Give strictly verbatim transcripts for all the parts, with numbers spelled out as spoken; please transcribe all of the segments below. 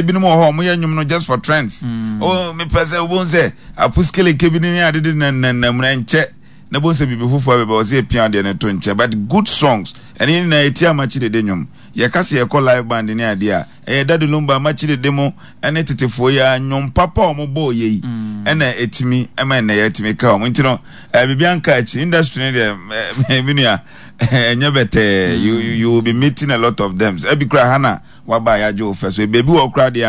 Ebinom wɔ hɔ a wɔyɛ nnwom no just for trends. Oh, mepɛ sɛ wobɛhu sɛ apuskeleke bi ne ne adede nananam na nkyɛ na bohu sɛ biribi foforɔ bɛbɛ wɔ sɛ yɛpia adeɛ no to nkyɛn. But good songs, ɛne yɛn nyinaa yɛtie Amakye Dede nnwom. Yɛka sɛ yɛkɔ live band ne adeɛ a, ɛyɛ Daddy Lumba, Amakye Dede mo ne tetefoɔ yi ara nnwom papa a wɔbɔɔ yɛ yi ɛna ɛtumi ɛma ɛnnɛ yɛtumi ka wɔn. Nti no, eh, biribi anka akyi. Industry no deɛ, eh, me nua, ɛnyɛ bɛtɛɛ. You, you, you will be meeting a lot of them. Ebi koraa ha na waba a yɛagye wo fɛ. So baabi wɔ hɔ koraa deɛ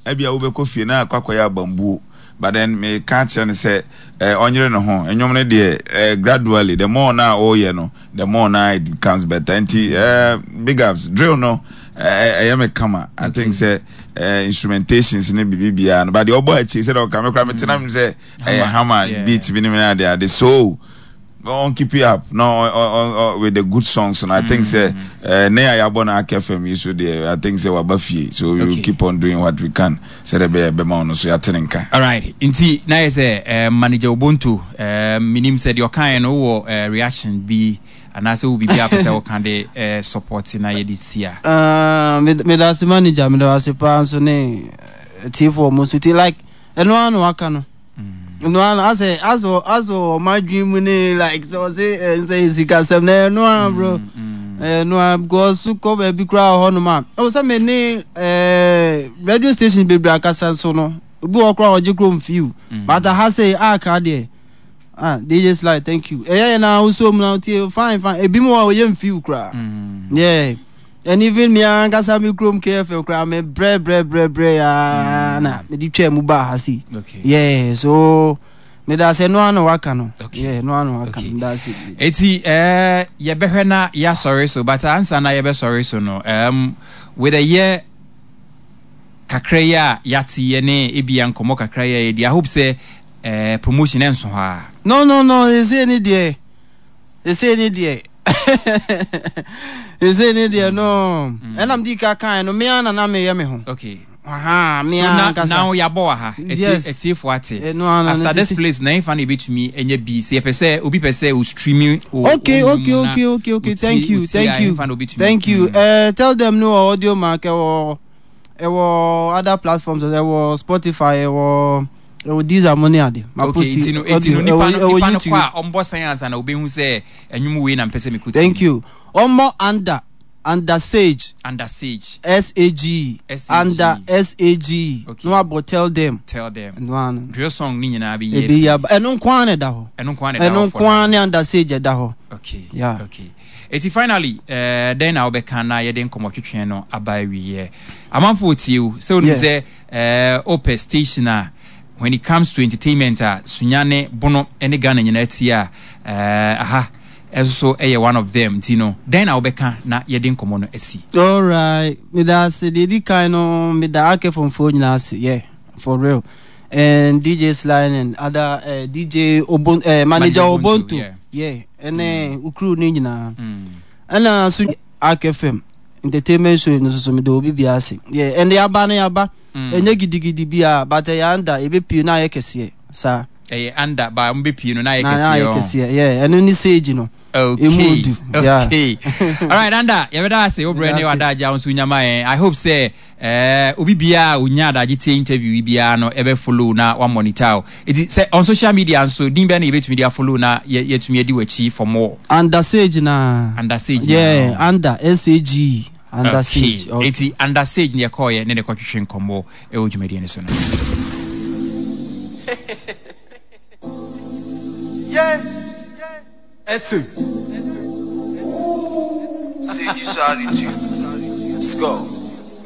a, ebia wobɛkɔ fie na akɔ akɔyɛ abambuo. But then meka akyerɛ no sɛ eh, ɔnyere ne ho. Nnwom no deɛ eh, gradually, the more na ɔreyɛ no, the more na it becomes better. Nti eh, big ups. Drill no, eh, ɛyɛ me kama. I think sɛ eh, instrumentations ne biribi biara no. But deɛ ɔbɔ akyi sɛ deɛ ɔka me koraa metena mu sɛ ɛyɛ hammer beat bi ne me ade ade. So on keep it up no on, on, on, with the good songs and I think sɛ eh, ne a yɛabɔ no Ark F M yi so deɛ, I think sɛ waba fie, so we will Okay. keep on doing what we can sɛdeɛ ɛbɛyɛ ɛbɛma ɔno so yɛate ne nka. Alright, nti na yɛ sɛ uh, Manager Obonto, uh, menim sɛ deɛ ɔkaeɛ no wowɔ uh, reaction bi anaasɛ wo biribi a pɛ sɛ woka de uh, support na yɛde si a. Ah, meda meda ase, manager, meda ase paa nso ne eh, tiefoɔ mo nso ti like ɛno ara na waka no, ɛno ara na asɛ asɛ asɛ ɔma adwene mu ne like sɛ ɔse ɛ sɛ sikasɛm na ɛno ara, bro, ɛno ara because so kɔ baabi koraa wɔ hɔnom a ɛwɔ sɛ me ne ɛɛ radio station bebree akasa nso no, obi wɔ hɔ koraa a ɔgye kurom few, but aha sɛ aka deɛ, ah, D J Sly, thank you. Ɛyɛ yɛ na wosɔ mu na tie fine fine. Ebi mu wɔ a ɔyɛ mfiw koraa, yeah, and even me ankasa me kurom K F M koraa, me brɛ brɛ brɛ brɛ yaa na mede twaa mu baa ha sei. Okay. Yeah, so meda ase, ɛno ara na waka no. Okay. Yeah, ɛno ara na waka Okay. no, meda ase. Eti eh, yɛbɛhwɛ na yɛasɔre so, but ansa na yɛbɛsɔre so no, um, with a year kakra yi a yɛate yɛ ne ebia nkɔmmɔ kakra yi a yɛdi, I hope sɛ eh, promotion ɛnso hɔ a. no no no ɛsei ne deɛ ɛsei ne deɛ ɛsei ne deɛ no, ɛnam di ka kan no, mea na na meyɛ me ho. Okay aha, so mea na ankasa. Now yɛabɔ wɔ ha. Yes. Atiefo ate. Ɛno ara no, after this sisi- place na ɛmfa na yɛbɛtumi anya bi sɛ yɛpɛ sɛ obi pɛ sɛ o streaming o okay o okay nnwom na okay okay okay otie- thank you otie thank a, you ɛmfa na obɛtumi. Thank you. Mm. uh, tell them no wɔ Audiomack, ɛwɔ ɛwɔ other platforms, ɛwɔ Spotify, ɛwɔ ɛwɔ Deezer mo ne ade ma okay post nti no nti audio no nipa ɛwɔ no ɛwɔ nipa no YouTube. kɔ a, ɔmbɔ sɛn ansa na obɛhu sɛ ɛnwom wei na mpɛ sɛ mekɔ tie? Thank you. Ɔmmɔ under under Sage. Under Sage. S A G. S A G. Under S A G. Okay. Na wabɔ Tell Them. Tell Them. Ɛno ano. Drill song ne nyinaa bɛyɛ. Ebi yaba, ɛno nko ara na ɛda hɔ. Ɛno nko ara na ɛda ɛno hɔ for nko ara now. Ne Under Sage ɛda hɔ. Okay. Yeah. Okay, eti finally uh, dɛn na wobɛka na yɛde nkɔmmɔtwetwe no aba awieɛ? Amanfoɔ tie o sɛ wonim Yeah. sɛ uh, wopɛ station a when it comes to entertainment a Sunyane Bono ne Ghana nyinaa tie a, uh, aha ɛso so ɛyɛ one of them. Nti no dɛn na wobɛka na yɛde nkɔmmɔ no asi? Alright, meda ase. Deɛ edi kan no, meda akɛfomfoɔ nyinaa ase, yeah, for real, and D J Sly and other uh, D J Obon, uh, Manager Manager Obonto, Obonto, yeah. Yeah, ɛne mm. Ukuru ne nyinaa mm. Ɛna so Ark F M entertainment show no soso, meda obi bia ase, yeah. Ɛnde yaba no yaba Mm. Ɛnyɛ gidigidi bia, but ɛyɛ under, ebepie na ayɛ kɛseɛ saa. Ɛyɛ under ba mbɛpie no na ayɛ na kɛseɛ ayɛ ɔ. Kɛseɛ, yeah, ɛno ne Sage no. Okay. Emu du, yeah. Okay. All right, Anda, yɛbɛda ase wo brɛ ne Meda ase. wadagye a wo nso nyama yɛn. I hope sɛ eh, obi biara a onya adagye tie interview yi biara no ɛbɛ follow na wa monitor o. Eti sɛ on social media nso, din bɛn na yɛbɛtumi de afollow na yɛ- yɛtumi adi w'akyi for more? Under Sage na. Under Sage yeah na. Under S A G E, Under Okay. Sage, okay. Eti Under Sage ne yɛkɔɔyɛ ne ne kɔtwetwe nkɔmmɔ ɛwɔ dwumadie no so no. Yeah. S. Sage attitude. Let's go.